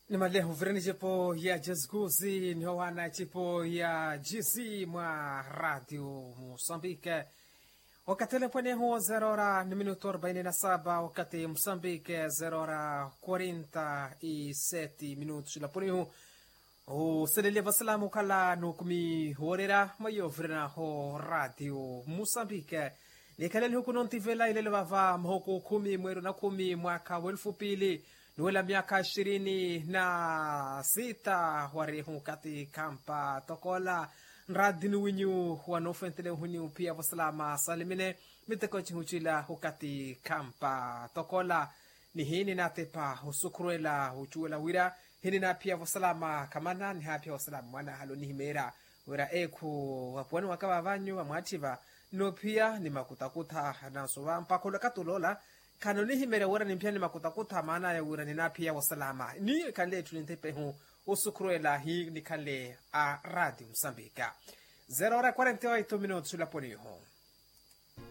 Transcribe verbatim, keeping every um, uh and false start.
Nimalehu vira ni cipo ya jazguzi nihowana cipo ya jizi mwa radio musambike. Wakati lepwenehu zero hora ni minutu arbaini na saba wakati musambike zero hora quarenta y sete minutu silapunihu. Oselelya vasalamu khala nukumi worera mayovirana ho radio musambike. Nikhale nihuku nontivela ilelo vava mahuku khumi mweru na khumi mwaka wa elfu pili nuwela myaka ishirini na sita warihu kati khampa tokola nradi nuwinyu wanofentele uhuni uphiya vasalama salimine miteko cihucila hukati khampa tokola. Nihini natepa osukhurwela ocuwela wira hini naphiya vasalama khamana nihaphiya vasalama mwana halo nihimeera wira ekhu vapuwani waka vavanyu vamwatthiva nophiya ni makutakutha nanso vampakha olakati olola. Khano nihimeerya wira nimphiya ni makutakutha maana aya wira ninaphiya wasalama ni khanle etthu nintepehu osukhurwela hi nikhanle a radio musambika. Zero hora quarenta y oito minutos laponiho.